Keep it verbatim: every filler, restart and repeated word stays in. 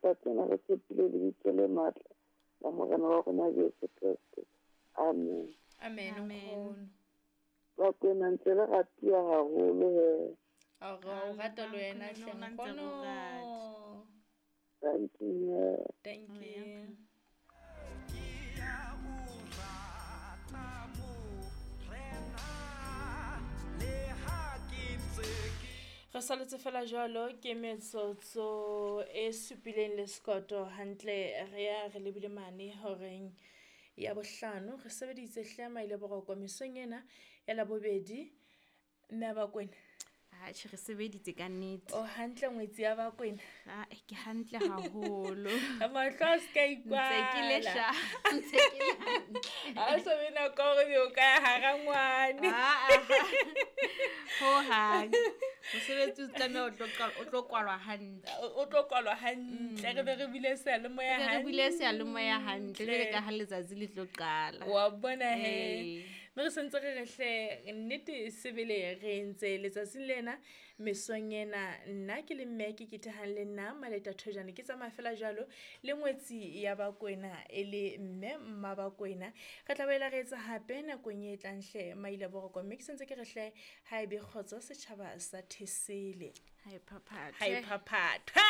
Kopa tsena re tshepile lebitso le matla la Morena wa rona Jesu Kreste. Amen. Amen. Amen. Bakwena ntse le ratiwa haholo he. A re o rata le wena Nkgono, hle le rona ntse re o nkgono. rata. Thank you. Thank you. Re saletse fela jwalo ke metsotso e supileng le sekoto hantle re ya re lebile mane horeng ya bohlano. Re sebeditse hle maile boroko mesong ena ya Labobedi. Mme a Bakwena. Atjhe, re sebeditse ka nnete. O hantle ngwetsi ya Bakwena? Ah, ke hantle haholo. Mahlo a se ka Ntse ke le ikwala. sha. Ntse ke le hantle. Ha o so be nako ya hore o ka ya hara ngwane. Ah, ah. Hohang. Mosebetsi o tlameha o tlo qal-, o tlo kwalwa hantle. O, o tlo kwalwa hantle. Re be re bule seyalemoya Re be re bule seyalemoya hantle, jwale hantle. ka ha letsatsi le tlo qala. Wa bona he. Ee. Mme re sentse re re hle, nnete sebele re entse letsatsing lena, mesong ena, nna ke le mme ke ketehang le nna Maleta Thojane, ke tsamaya fela jwalo le ngwetsi ya Bakwena e le mme mma Bakwena. Re tla boela re etsa hape nakong e tlang hle maile boroko, mme ke sentse ke re hle ha ebe kgotso setjhaba sa Thesele. Ha e phaphathwe. Ha e phaphathwe.